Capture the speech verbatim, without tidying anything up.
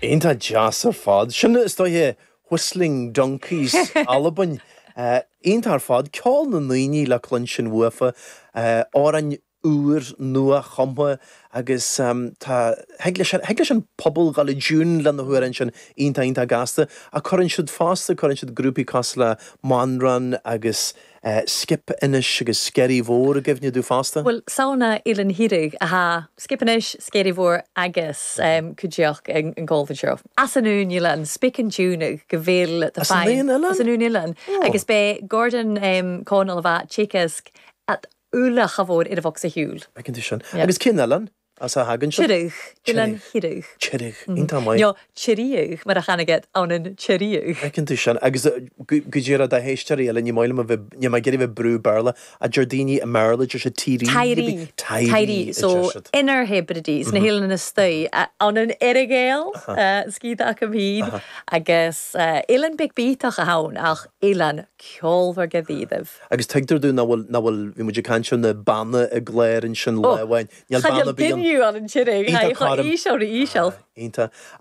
Iontach deas ar fad. Sin is dóiche Whistling Donkeys Albain. Uh, Iontach ar fad ceol na ndaoine le cluinstin uafa uh, amhráin úr nua chumtha agus um, tá thig leis an pobal gal i dtiún lena hamhráin sin iontach iontach gasta a chuireann siad fosta cuireann siad grúpaí cosúil le Manran agus uh, Skip Inis agus Sceirí Mhór i gcuimhne domh fosta. Well sauna Eilean Thíraigh a Skip Inis Sceirí Mhór agus um, cuideach an golfin seo. As an únilan spick an tune go bhfuil As an aon As an únilan agus bé Gordon um, Conall a bheith Chicask at ula chabhór ar a bhox a hiúil. Feiceann tú sin. Agus cén eilean as a thagann sin? Tirich Eilean Thíraigh. Tirich iontach maith. Jo Tiríodh mar a chanaget an an Tiríodh. Feiceann tú sin agus go dtíra da héisteirí eile ní maith ní ma bheith brú Béarla a deir daoine i mBéarla deir siad Tírí Tairí Tairí so Inner Hebrides na hIlean na Stoi an an Earagail scíad a híd agus Eilean Big Beatach a hain ach Eilean ceolmhar go ddíomh. Agus tuigtear domh nach bhfuil nach bhfuil bhí muid ag caint na banna i gléir an sin lehain. Níl banna bí an an tirigh íseal íseal. Iontach.